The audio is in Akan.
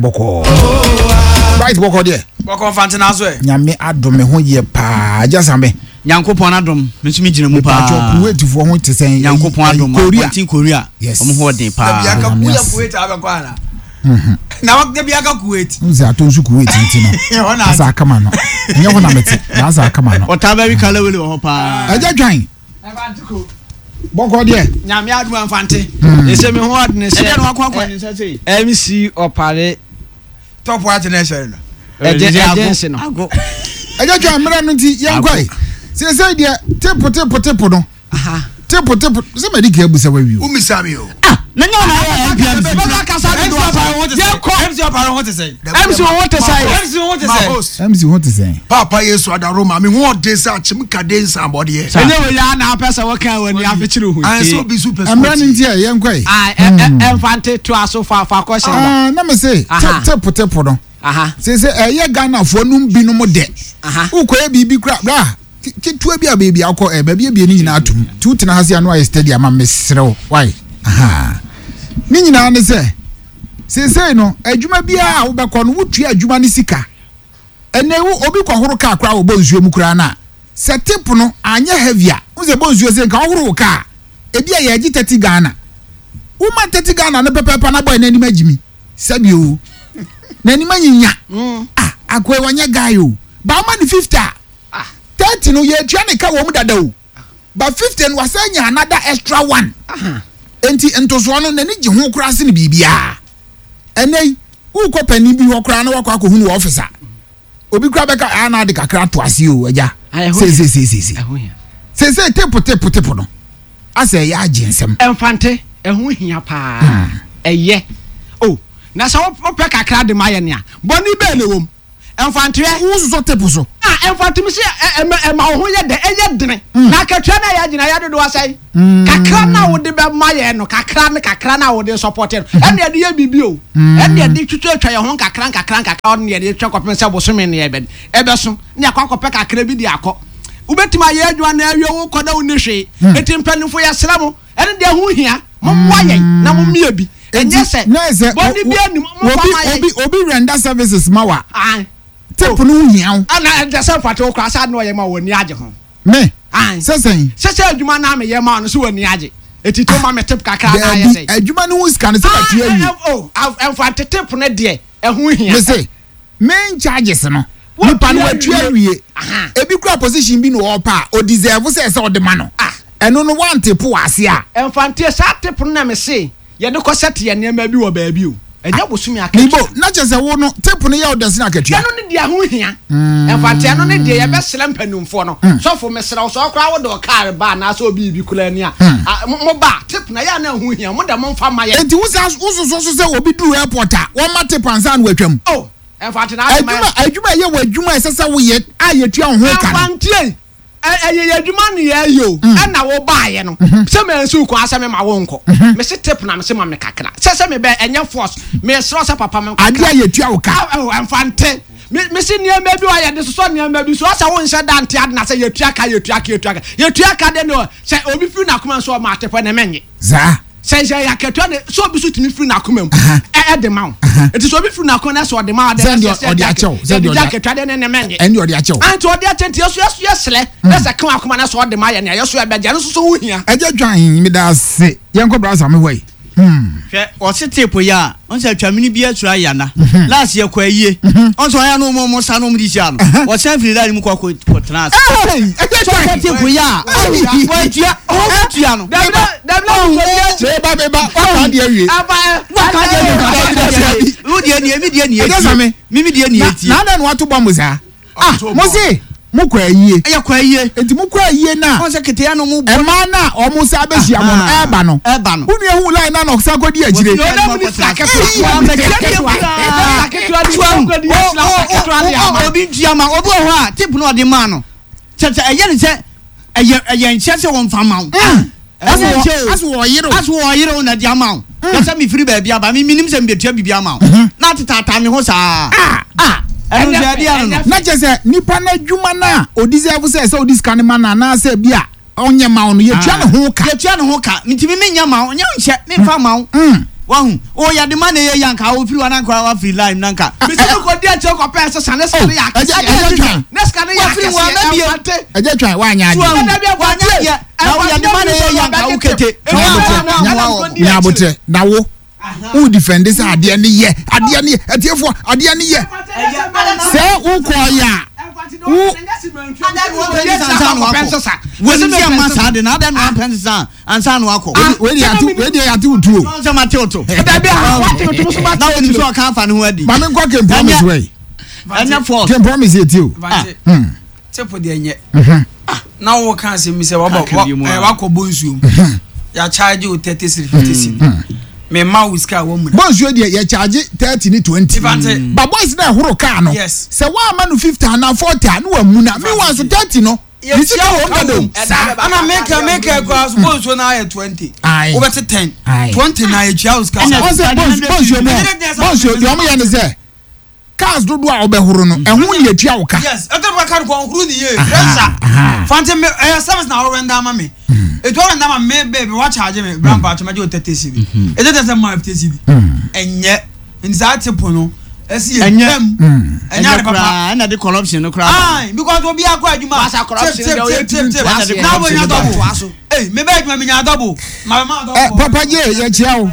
Bɔkɔɔ. Bright bɔkɔɔ deɛ. Bɔkɔɔ mfante na so ɛ. Nyame adom me ho yɛ paa agya Same. Nyankopɔn adom me nso me gyina mu paa. Mepatwɔ Kuwait foɔ ho te sɛn? Nyankopɔn adom Korea. Abɔnten Korea. Yes. Wɔn ho ɔden paa. Dabi aka Nyame woyɛ ase. Kuwait abɛkɔ ana? Na wa dabi aka Kuwait. N sɛ ato nso Kuwait nti no. Ɛhɔ na Asa akama no. Ɛnyɛ hɔ na mete. Na asa akama no. Ɔtaa bɛwe kalawele wɔ hɔ paa. Agya Dwan. Bɔkɔ deɛ. Nyame adom amfante. Ɛsɛ me ho ɔdene sɛ. Ɛdeɛ na wakɔ akɔ ne nsa sei. MC Ɔpare. Top white na ɛhyɛ no. Ɛgye ɛgye nse no. Ago. Ɛgye twa mmerɛ no nti yɛn kɔe. Seesei deɛ tepo tepo tepo no. Tepo tepo sɛ mɛdi ka abusa wawie o. Womisa mi o. Ah na nyɛ ɔna ayɛ NPMC. Bɛka kasa dodo asa. Yɛn kɔ. MC Ɔpare ho te sɛn. MC ho te sɛn. MC ho te sɛn. MC ho te sɛn. Paapa Yesu adaro ma me ho ɔden sɛ akyem kade nsambɔdeɛ. Ɛnyɛ wei ara na apɛ sɛ wɔka wɔ ani afekyere ho yi. Sɛ obi so pɛ sɛ Mmerɛ no nti ɛ yɛn kɔ yi. Ɛmfa nte to aso fa fa kɔ hyɛn ba. Na me se tepo tepo no. Sɛ sɛ ɛyɛ Ghanafoɔ nom binom dɛ. Wokɔyɛ biribi kora bra ketewa bi a baabi akɔ ɛ baabi abie ne nyinaa atom. Nti wotena ha se ano ayɛ steady ama mesrɛ wo. Why? Ne nyinaa ne sɛ seesei no adwuma biara a wobɛkɔ no wotua adwuma no sika. Ɛnɛ wo obi kɔhoro kaa koraa wɔ bɔ nsuo mu koraa no a sɛ tip no anyɛ heavy a wohu sɛ bɔ nsuo sɛ nka wohoro wo kaa ebi a yɛgye 30 Ghana woma 30 Ghana no pɛpɛɛpɛ na bɔyɛ n'anim agyimi sɛbi o n'anim anyinya ah akoe wɔnyɛ guy o ba woma no 50 a 30 no yɛtua ne ka wɔ mu dada o but 50 no wasan nya another extra one enti ntosoɔ no n'ani gye ho koraa sene biribiara ɛnɛ yi wokɔ panin bi hɔ koraa na wakɔ akɔhunu wɔ ɔfis a obi koraa bɛka a na ade kakra ato ase o agya seeseeseesei seesei tepo tepo tepo no asɛ ɛyɛ agye nsɛm. Mfante ɛho hia paa ɛyɛ o na sɛ wopɛ kakra de ma yɛ nea bɔne bɛɛ na ɛwɔ mu. Mfanteɛ. Wo sosɔ tape so. Ah, mfantem se ɛma ɛma wo ho yɛ dɛ, ɛyɛ dene. Mm. Na akatua no a yɛagye no ayɛ dodoɔ sɛn? Mm. Kakra no a wode bɛma yɛn no, kakra no kakra no a wode sɔpɔte no, mm-hmm. ɛne yɛde yɛ biribi o. Mm. Ɛne yɛde twitwatwa yɛn ho nkakra nkakra nkakra, ɔne yɛde twɛ kɔpem sɛ bosome no yɛbɛ ɛbɛso, ne yɛakɔ akɔpɛ kakra bi de akɔ. Wobɛtumi ayɛ adwuma na awie wo kɔ na wonni hwee. Mm. Enti mpanimfo yɛsrɛ mo, ɛne deɛ ho hia, mommoa yɛn na mommie bi. Ɛnyɛ sɛ bɔne bi anim momfa ma yɛn. Obi obi render services ma wa. Tip no ho hia wo. Ana ɛnkyɛ sɛ mfate wo koraa sɛ ade na ɔyɛ ma wɔ ani agye ho. Me. Sɛ sɛn. Sɛ sɛ adwuma na meyɛ ma no so wɔ ani agye. Eti to ma me tip kakra na ayɛ sɛn. Daabi adwuma no ho sika no sɛ ma tua wie. Oh ɛmfante tip no deɛ ɛho hia. Me se main charges no nipa no watua awie ebi kura position bi na ɔpɛ a o deserve sɛ ɛsɛ ɔde ma no ɛno no one tip wɔ ase a. Ɛmfanteɛ saa tip no na me se yɛde kɔ sɛte yɛn nneɛma bi wɔ baabi o ɛnyɛ bosome akatua. Mebo na kyerɛ sɛ wo no tip no yɛ wo dɛ sene akatua. Ɛno ne deɛ ɛho hia ɛmfanteɛ ɛno ne deɛ yɛbɛsrɛ mpanimfoɔ no sɔfo mesrɛ wo sɛ ɔkoraa wode ɔkaa reba anaasɛ obi bi koraa ni a mo ba tip na ɛyɛ a na ɛho hia mo dɛ momfa ma yɛn. Enti wo saa wo soso so sɛ obi duru airport a wɔma tip ansa na watwam. Oh ɛmfante na asɛm ayɛ. Adwuma adwuma ɛyɛ wɔ adwuma a ɛsɛ sɛ woyɛ a yɛtua wo ho ka no. Ɛmfanteɛ ɛyɛ yɛ adwuma ne yɛyɛ o ɛna wo baayɛ no sɛ mansi wo kwan sɛ mema wo nkɔ mese tip na mese ma me kakra sɛ sɛ mebɛ ɛnyɛ force mesrɛ sɛ papa me kakra adeɛ a yɛtua wo ka ɛmfante mese nneɛma bi wɔ yɛde sosɔ nneɛma bi so ɔsɛ wo nhyɛ da nte ade na sɛ yɛtua ka yɛtua ka yɛtua ka yɛtua ka de ne sɛ obi firi n'akoma nso ɔma atepɛ ne menye Saa. Sɛ sɛ yɛ akatua ne sɛ obi so tumi firi n'akoma mu ɛde ma wo. Nti sɛ obi firi n'akoma na sɛ ɔde ma wo de sɛ sɛ ɔde akyɛw sɛ ɔde akatua de ne ne mɛnye. Ɛnde ɔde akyɛw. Nti ɔde akyɛ nti yɛso yɛso yɛsrɛ na sɛ ka akoma na sɛ ɔde ma yɛ nea yɛso yɛbɛgye ɛno nso so ho hia. Ɛgya dwan meda ase yɛnkɔ bra Same hɔ yi. Hwɛ ɔse tape yi a ɔn sɛ atwamini bi asuro ayɛ ana last yɛ kɔ ayie ɔn sɛ ɔyɛ no ɔmo sa no ɔmo de hyia no ɔsan firi line mu kɔ kɔ tena ase sɛ ɔsɛ tape yi a wɔatua ɔtua no meba meba waka deɛ awie waka deɛ awie wo deɛ nie mi deɛ nie tie mi mi deɛ nie tie na adɛn na wato bɔmbo saa Ah, mo se mo kɔ ayie. Yɛ kɔ ayie. Enti mo kɔ ayie na. Wɔn sɛ keteya no mo bɔ. Mmaa na wɔn sa abɛhyia mo no ɛɛba no. Ɛɛba no. Wo nua hu line na na ɔsan kɔ di akyire. Obi ntua ma obi wɔ hɔ a tip na ɔde maa no. Kyɛ sɛ ɛyɛ ne sɛ ɛyɛ ɛyɛ nhyɛ sɛ wɔmfa ma wo. Ɛnyɛ nhyɛ o. Aso wɔyere o. Aso wɔyere o na de ama wo. Yɛ sɛ mefiri baabi aba me menim sɛ mebetua biribi ama wo. Na atetaataa me ho saa. Ah! Ɛno nso ɛde ano no. Na kyerɛ sɛ nipa no adwuma no a ɔdeserve sɛ sɛ ɔde sika no ma no anaasɛ bi a ɔnyɛ ma wo no yɛtua ne ho ka. Yɛtua ne ho ka. Nti me menyɛ ma wo. Nyɛ nhyɛ memfa ma wo. Wahu? O yɛde ma na ɛyɛ yie anka wofiri hɔ na anka wafiri line na anka. Mesi mi kɔ di akyire kɔ pɛ sesa ne sika ne yɛ akɛseɛ. Ɛgya twan. Ne sika ne yɛ akɛseɛ. Ɛnfante. Ɛgya twan wanyɛ adeɛ. Wanyɛ adeɛ. Na wo yɛde ma na ɛyɛ yie anka wo kete. Nya abotrɛ na wo wo defend sɛ adeɛ ne yɛ adeɛ ne yɛ atiefoɔ adeɛ ne yɛ sɛ wokɔ yɛ a wo. Wɔn ti ama saa de na adɛn na wampɛ nsesa ansa na wakɔ. Wei deɛ ate wei deɛ ate wo tuo. Sɛ ma te wo to. Dabi a wate wo to so ma te. Na wɔn nso ɔka afa ne ho adi. Maame nkɔ King Promise wei. Ɛnyɛ false. King Promise yɛ ti o. Tepo deɛ nyɛ. Na wo ka asɛm bi sɛ wabɔ wakɔ bɔ nsuo mu. Yɛ charge wo 30 cedi 50 cedi. Me ma wo sika wɔ mu. Bɔ nsuo deɛ yɛ charge 30 ne 20. Ba boys na ɛhoro kaa no. Sɛ wɔama no 50 anaa 40 a ne wa mu na. Meanwhile so 30 no. Ne sika wɔ mu dada o. Saa. Ana meka meka kura so bɔ nsuo na ayɛ 20. Wobɛte 10. 20 na yɛtua wo sika. Ɔsɛ bɔ nsuo mu bɔ nsuo deɛ ɔmo yɛ ne sɛ cars dodoɔ a wobɛhoro no ɛho ne yɛtua wo ka. Yes, ɛtɔ bɛ ka no kɔ ɔhoro ne yie. Pressure. Fante me ɛyɛ service na ɔrenda ama me. Etu ɔrenda ama me baby wa charge me bra mpa atwama gye o 30 cedi. Ɛtɛ tɛ sɛ ma 50 cedi. Ɛnyɛ. Nti saa tip no ɛsi yɛ Ɛnyɛ. twam. Ɛnyɛ ade papa. koraa ɛna de corruption no koraa ba. Aye, because obi akɔ adwuma. Wasa corruption Tip deɛ ɔyɛ tip tip tip tumi tip. ntoa Na so. wo nya Ntoa double. so. Hey, me bɛ adwuma me nya double. Ma bɛ ma double. Ɛ Papa J yɛkyia wo.